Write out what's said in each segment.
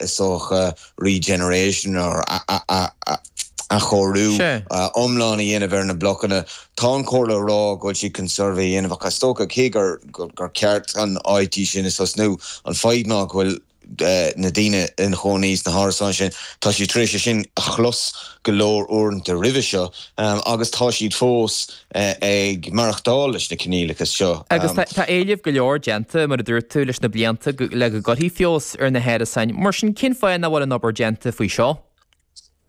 Is dócha regeneration or athchóiriú iomlán a dhéanamh ar na blocanna. Tá an Chomhairle ag rá go bhfuil siad chun suirbhé a dhéanamh ach is dócha cé gur ceart an áit sin a thosnú, an fadhb ná go bhfuil na daoine ina chónaí sna hárasáin sin, tá siad tar éis é sin a chlos go leor uaireanta roimhe seo agus tá siad fós ag maireachtáil leis na coinníollacha seo. Agus tá éilimh go leor déanta, mar a dúirt tú, leis na blianta le go gcuirfí feabhas ar na hárasáin. Mar sin, cén fáth nach bhfuil an obair déanta faoi seo?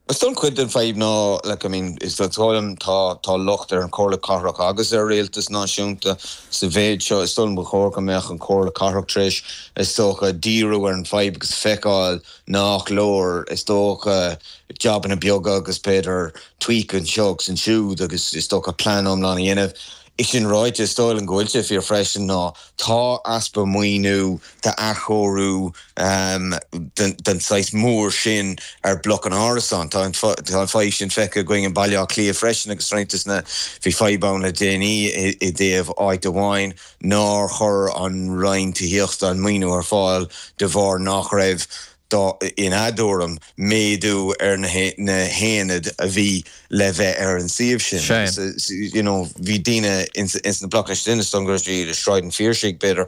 Is dóigh liom cuid den fadhb ná, like, I mean, is dóigh liom tá tá locht ar an Chomhairle Cathrach agus ar Rialtas Náisiúnta sa mhéid seo. Is dóigh liom ba chóir go mbeadh an Chomhairle Cathrach tar éis, is dócha, díriú ar an fadhb agus feiceáil nach leor, is dócha, jabanna beaga agus b'fhéidir tweak anseo agus ansiúd agus is dócha plean iomlán a dhéanamh. É sin ráite, is dóigh liom go bhfuil sé fíor freisin ná tá easpa maoiniú d'athchóiriú den saghas mór sin ar blocanna árasán. Tá an fadhb sin feicthe againn i mBaile Átha Cliath freisin agus roinnt de na, bhí fadhb ann le déanaí i dtaobh áit amháin nár chuir an Roinn Tithíochta an maoiniú ar fáil de bharr nach raibh dá, ina dtuairim, méadú ar na haonaid a bhí le bheith ar an suíomh sin. Agus, you know, bhí daoine ins na blocanna sin, is dóigh liom go raibh siad i Sráid an Phiarsaigh, b'fhéidir,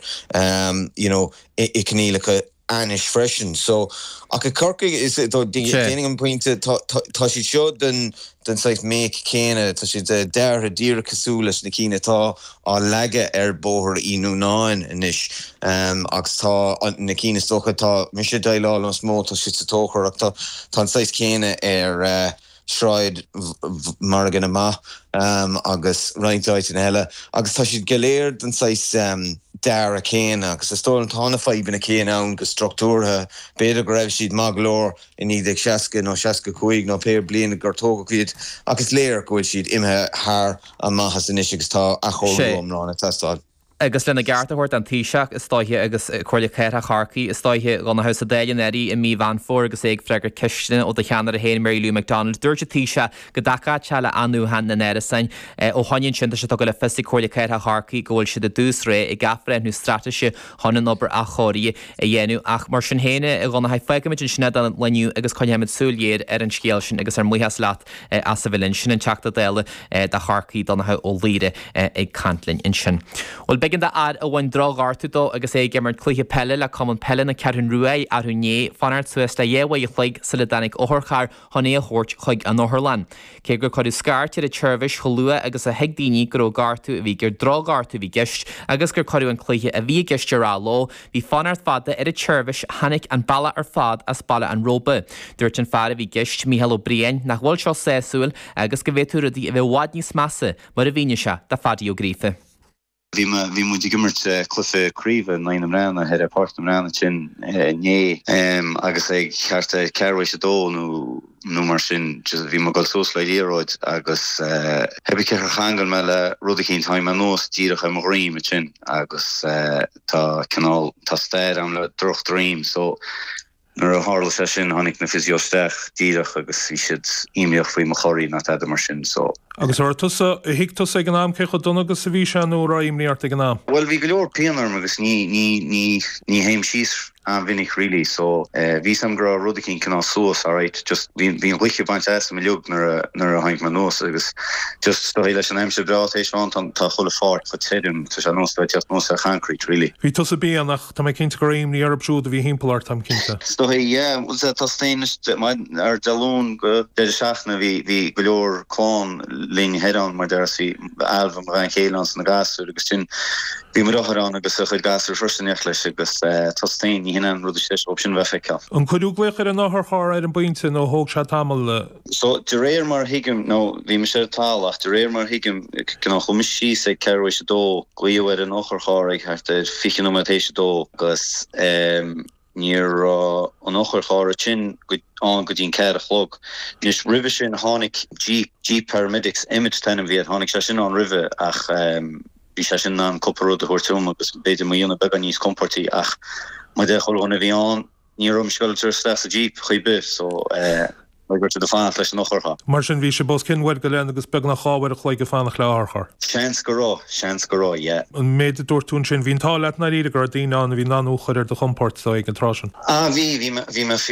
you know, i gcoinníollacha ainnis freisin. So, ach i Corcaigh, is, déanaim an pointe, tá, tá siad seo den, den saghas make céanna, tá siad deartha díreach cosúil leis na cinn atá á leagadh ar Bhóthar Uí Núnáin anois agus tá na cinn is dócha atá mise ag déileáil leo is mó, tá siad sa Tóchar ach tá an saghas céanna ar Shráid Mhargadh na mBa agus roinnt áiteanna eile agus tá siad go léir den saghas dearadh céanna agus is dóigh liom tá na fadhbanna céanna ann go struchtúrtha, b'fhéidir go raibh siad maith go leor i 1960 nó 65 nó pé bliain gur tógadh iad ach is léir go bhfuil siad imithe thar a maitheas anois agus tá athchóiriú iomlán ag teastáil. Agus lena gceart a thabhairt don Taoiseach, is dóiche, agus Comhairle Cathrach Chorcaí, is dóiche, a Dhonncha, sa Dáil anuraidh i mí Mheán Fómhair agus é ag freagairt ceisteanna ó do cheannaire féin, Mary Lou McDonald, dúirt an Taoiseach go dtacódh sé le athnuachan na n-árasán. Ó shoin ansin, tá sé tugtha le fios ag Comhairle Cathrach Chorcaí go bhfuil siad i dtús réidh ag athbhreithniú straitéise chun an obair athchóirithe a dhéanamh. Ach mar sin féin, a Dhonncha, fágfaimid ansin é don lá inniu agus coinneoimid súil ghéar ar an scéal sin agus ár mbuíochas leat as a bheith linn. Sin an Teachta Dála do Chorcaigh, Donncha Ó Laoghaire, ag caint linn ansin. Bhuel, b'éigean d'fhear a bhain drochghortú dó agus é ag imirt cluiche peile le Cumann Peile na Ceathrún Rua arú inné fanacht suas le dhá uair a chloig sula dtáinig otharcharr chun é a thabhairt chuig an otharlann. Cé gur cuireadh scairt ar an tseirbhís chomh luath agus a thuig daoine go raibh gortú a bhí gur drochghortú a bhí i gceist agus gur cuireadh an cluiche a bhí i gceist ar athló, bhí fanacht fada ar an tseirbhís a tháinig an bealach ar fad as Baile an Róba. Dúirt an fear a bhí i gceist, Mícheál Ó Briain, nach bhfuil seo sásúil agus go bhféadfadh rudaí a bheith i bhfad níos measa mar a mhínigh sé do Phaddy Ó Gríofa. Bhí bhí muid ag imirt cluiche craoibhe in aghaidh na mBreathnaigh ar Pháirc na mBreathnach ansin inné agus ag thart ar ceathrú théis a dó nó nó mar sin just bhí mé ag dul suas le liathróid agus cibé cé gur cheangail mé le rud eicínt tháinig mé anuas díreach ar mo dhroim ansin agus tá cineál tá stair agam le droch droim so Nuair a tharla sé sin tháinig na physio isteach díreach agus bhí siad imníoch faoi mo chorraí ná tada mar sin so. Agus an raibh tusa, thuig tusa ag an am cé chomh dona agus a bhí sé nó an raibh imní ort ag an am? Bhuel bhí go leor pian orm agus ní, ní, ní, ní théim síos an-mhinic really so bhí fhios agam go raibh rud eicínt cineál suas alright just bhí, bhí an ghaoth ag baint asam uilig nuair a, nuair a tháinig mé anuas agus just is dóigh leis an aimsir breá tar éis bheith ann tá, tá chuile pháirc chomh tirim tá sé ar nós a bheith ag teacht anuas ar choincreít really. Bhí tusa binn ach Tá mé cinnte go raibh imní orthu siúd a bhí thimpeall ort, táim cinnte. Is dóigh, yeah. Bhuel, tá tú féin anois, ar Dé Luain go deireadh seachtaine bhí, bhí go leor clann linn thoir ann, mar déarfá, bhí Ailbhe, mo bhean chéile, ann 's na gasúir agus sin, bhí mo dheartháir ann agus a chuid gasúr freisin in éineacht leis agus tá tú féin, ní hin an rud is deise dhóibh sin a bheith a fheiceáil. An cuireadh glaoch ar an otharcharr ar an bpointe nó thóg sé tamall? So, de réir mar a thuigim, nó bhí mise ar an talamh ach de réir mar a thuigim, cineál chuaigh mise síos ag ceathrú théis a dó, glaodh ar an otharcharr ag thart ar 20 nóiméad théis a dó agus ní raibh an otharcharr sin ann go dtí an ceathair a chlog. Anois, roimhe sin tháinig Jeep, Jeep Paramedics, Emmet an t-ainm a bhí air, tháinig sé sin ann roimhe ach bhí sé sin in ann cúpla rud a thabhairt dom agus b'fhéidir mo dhéanamh beagán níos compóirtí ach mar a deir chuile dhuine a bhí ann, Ní raibh mise ag dul isteach sa Jeep chor ar bith so eh. Go raibh siad ag fanacht leis an otharcharr. Mar sin, bhí sibh os cionn uair go leith agus beagnach 2 uair a chloig ag fanacht le otharcharr. Seans go raibh, seans go raibh, yeah. An méid a dúirt tú ansin, bhí an t-ádh leat i ndáiríre go raibh daoine ann a bhí in ann thú a chur ar do chompord ag an tráth sin. Ah bhí, bhí mé, bhí mé fíor.